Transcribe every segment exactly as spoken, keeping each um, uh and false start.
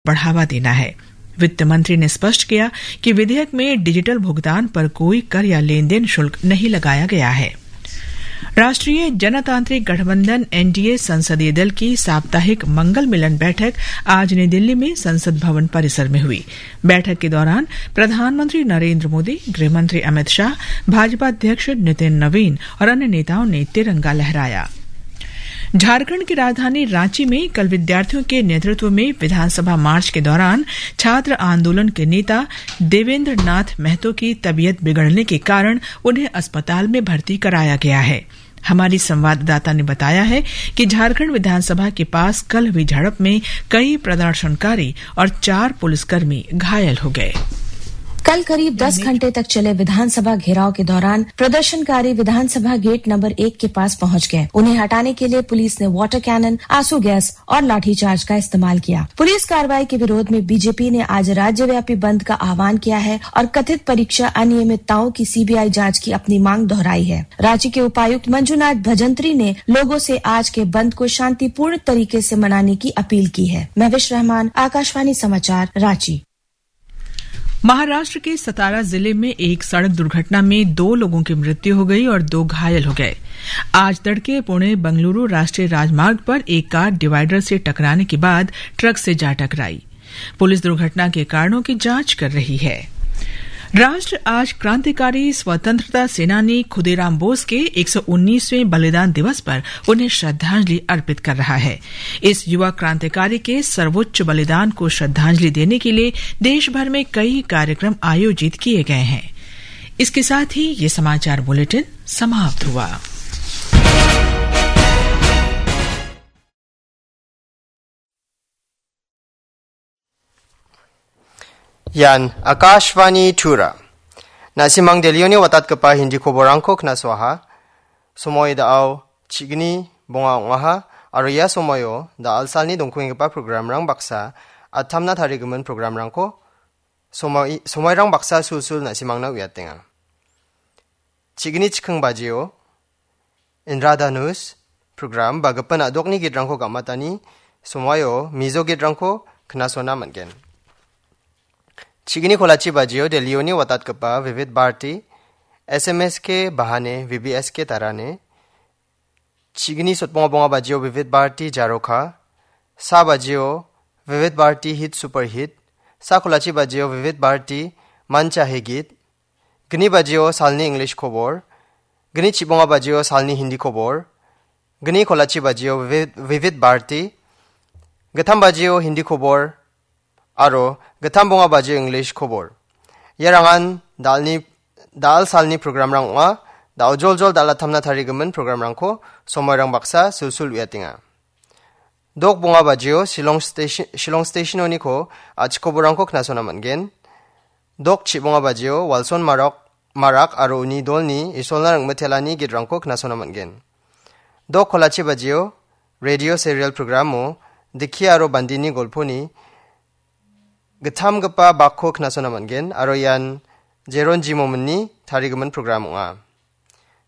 बढ़ावा देना है। वित्त मंत्री ने स्पष्ट किया कि विधेयक में डिजिटल भुगतान पर कोई कर या लेन देन शुल्क नहीं लगाया गया है। राष्ट्रीय जनतांत्रिक गठबंधन एनडीए संसदीय दल की साप्ताहिक मंगल मिलन बैठक आज नई दिल्ली में संसद भवन परिसर में हुई। बैठक के दौरान प्रधानमंत्री नरेंद्र मोदी, गृह मंत्री अमित शाह, भाजपा अध्यक्ष नितिन नवीन और अन्य नेताओं ने तिरंगा लहराया। झारखंड की राजधानी रांची में कल विद्यार्थियों के नेतृत्व में विधानसभा मार्च के दौरान छात्र आंदोलन के नेता देवेंद्र नाथ महतो की तबीयत बिगड़ने के कारण उन्हें अस्पताल में भर्ती कराया गया है। हमारी संवाददाता ने बताया है कि झारखंड विधानसभा के पास कल हुई झड़प में कई प्रदर्शनकारी और चार पुलिसकर्मी घायल हो गए। कल करीब दस घंटे तक चले विधानसभा घेराव के दौरान प्रदर्शनकारी विधानसभा गेट नंबर एक के पास पहुंच गए। उन्हें हटाने के लिए पुलिस ने वाटर कैनन, आंसू गैस और लाठीचार्ज का इस्तेमाल किया। पुलिस कार्रवाई के विरोध में बीजेपी ने आज राज्यव्यापी बंद का आह्वान किया है और कथित परीक्षा अनियमितताओं की सीबीआई जांच की अपनी मांग दोहराई है। रांची के उपायुक्त मंजुनाथ भजंत्री ने लोगों से आज के बंद को शांतिपूर्ण तरीके से मनाने की अपील की है। महविश रहमान, आकाशवाणी समाचार, रांची। महाराष्ट्र के सतारा जिले में एक सड़क दुर्घटना में दो लोगों की मृत्यु हो गई और दो घायल हो गए। आज तड़के पुणे बंगलुरु राष्ट्रीय राजमार्ग पर एक कार डिवाइडर से टकराने के बाद ट्रक से जा टकराई। पुलिस दुर्घटना के कारणों की जांच कर रही है। राष्ट्र आज क्रांतिकारी स्वतंत्रता सेनानी खुदीराम बोस के एक सौ उन्नीसवें बलिदान दिवस पर उन्हें श्रद्धांजलि अर्पित कर रहा है। इस युवा क्रांतिकारी के सर्वोच्च बलिदान को श्रद्धांजलि देने के लिए देश भर में कई कार्यक्रम आयोजित किए गए हैं। इसके साथ ही ये समाचार बुलेटिन समाप्त हुआ। Ian Akashvani Tura. Na·simang Delhioni watatgipa Hindi koborangko knasoaha. Somoi da·ao chigni bonga ong·aha, aro ia somoio da·alsalni dongkenggipa programrang baksa, atamna tarigimin programrangko somoi-, somoirang baksa sulsul na·simangna uiatenga. Chigni chikking bajio Indra Dhanush program ba gipin a·dokni gitrangko gam·atani somoio Mizo gitrangko knasona man·gen. Chigni kolachi bajio Delhioni watatgipa Vivid Bharati, S M S K Bahane, V B S K Tarane, chigni sotbonga bonga bajio Vivid Bharati Jaroka, sa bajio Vivid Bharati Hit Super Hit, sa kolachi bajio Vivid Bharati Mancha Hegit, gni bajio salni English kobor, gni chibonga bajio salni Hindi kobor, gni kolachi bajio Vivid, Vivid Bharati, gittam bajio Hindi kobor, aro gittam bonga bajio English kobor. Iarangan dalni, dal salni programrang ong·a, da·o joljol dal·atamna tarigimin programrangko somoirang baksa sulsul uiatenga. Dok bonga bajio Shillong Station, Shillong Stationoniko a·chik koborangko knasona man·gen. Dok chibonga bajio Walson Marok, Marak aro uni dolni Isolna ringmitelani gitrangko knasona man·gen. Dok kolachi bajio Radio Serial programo Dikki aro Bandini golponi gittamgipa bakko knasona man·gen, aro ian Jeron Jimominni tarigimin program ong·a.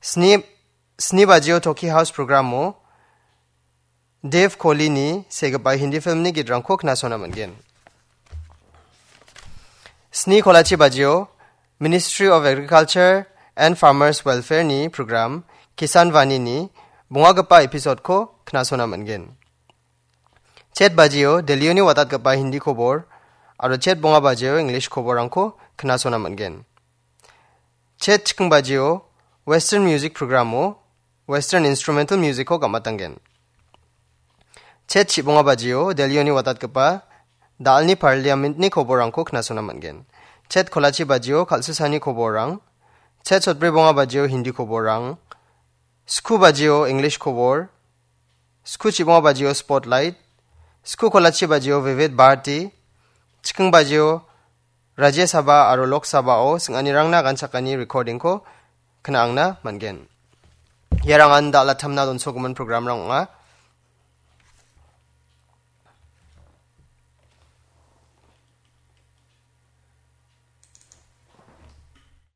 Sni, sni bajio Toki House programo Dev Kohlini segipa Hindi filmni gitrangko knasona man·gen. Sni kolachi bajio Ministry of Agriculture and Farmers Welfare-ni program Kisan Vani-ni bongagipa episode-ko knasona man·gen. Chet bajio Delhioni watatgipa Hindi kobor aro chet bonga bajio English koborrangko knasona man·gen. Chet chikking bajio Western Music programo Western Instrumental Music-ko gam·atangen. Chet chibonga bajio Delhioni watatgipa dalni Parliament-ni koborrangko knasona man·gen. Chet kolachi bajio kal·susani koborrang, chet sotbri bonga bajio Hindi koborrang, sku bajio English kobor, sku chibonga bajio Spotlight, sku kolachi bajio Vivid Bharati, chikking bajio Rajya Sabha aro Lok Sabha-o sing·anirangna ganchakani recording-ko kna·angna man·gen. Iarangan dal·atamna donsogimin programrang ong·a.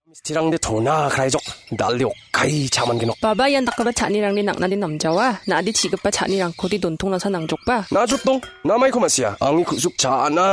Misterangde tona kraijok, dal·e okkai cha·mangenok. Baba, ian dakgipa cha·anirangde nang·nade namjawa. Na·ade chi·gipa cha·nirangkode dontongnasa nangjokba. Najotdong, namaiko ma·sia. Angni ku·suk cha·na.